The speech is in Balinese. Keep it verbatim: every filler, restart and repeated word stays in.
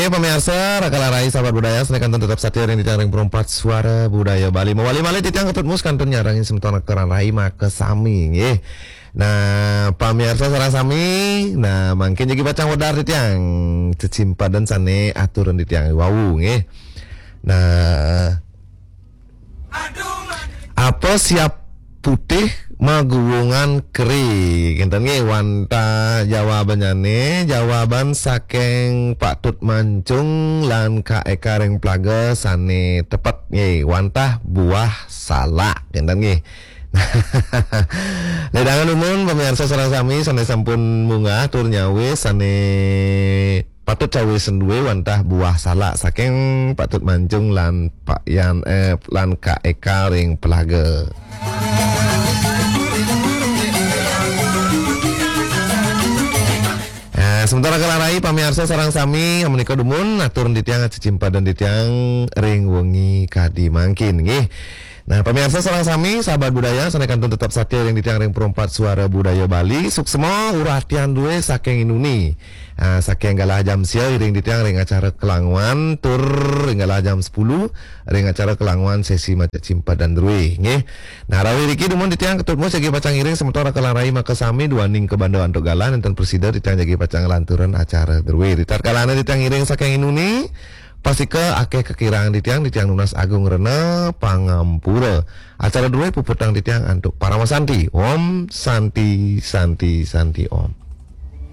Pamiarsa, Raka Larai, sahabat budaya, sané kantun tetep satia ring titiang ring Perempat Suara Budaya Bali. Mawali malih titiang Ketut Mus kantun nyarengin semeton Raka Larai makasami, nggih. Nah, pamiarsa sareng sami, nah, mangkin jagi pacang wedar titiang cecimpadan sané aturan titiang wau, nggih. Nah, apa siap putih maguwungan keri? Kénten nggih, wantah jawabannyané, jawaban saking Pak Tut Mancung lan Kak Eka ring Plaga sané tepet nggih, wantah buah salak. Kénten nggih. Ledangan dumun pamiarsa sareng sami sané sampun munggah tur nyawis sané patut cawis duwé wantah buah salak saking Pak Tut Mancung lan Pak Yan, eh, lan Kak Eka ring Plaga. Nah, sementara Raka Larai pamiarsa sareng sami, menika dumun atur titiang cecimpadan titiang ring wengi kadi mangkin, nggih. Nah, pamiarsa sareng sami, sahabat budaya, sané kantun tetep satia ring titiang ring Perempat Suara Budaya Bali, suksma uratian duwé saking inuni. Ah, saking galah jam sia iring titiang ring acara Kelanguan, tur ring galah jam sepuluh ring acara Kelanguan sesi maca cimpadan druwé, nggih. Nah, rawuh riki dumun titiang Ketut Mus jagi pacang ngiring semeton Raka Larai makasami duaning kabanda antuk galah nénten prasida titiang jagi pacang nglanturang acara druwé. Ritatkalané titiang ngiring saking inuni, pastika akéh kakirangan titiang, titiang nunas agung rena pangampura. Acara druwé puputang titiang antuk paramasanti. Om Santi, Santi, Santi Om.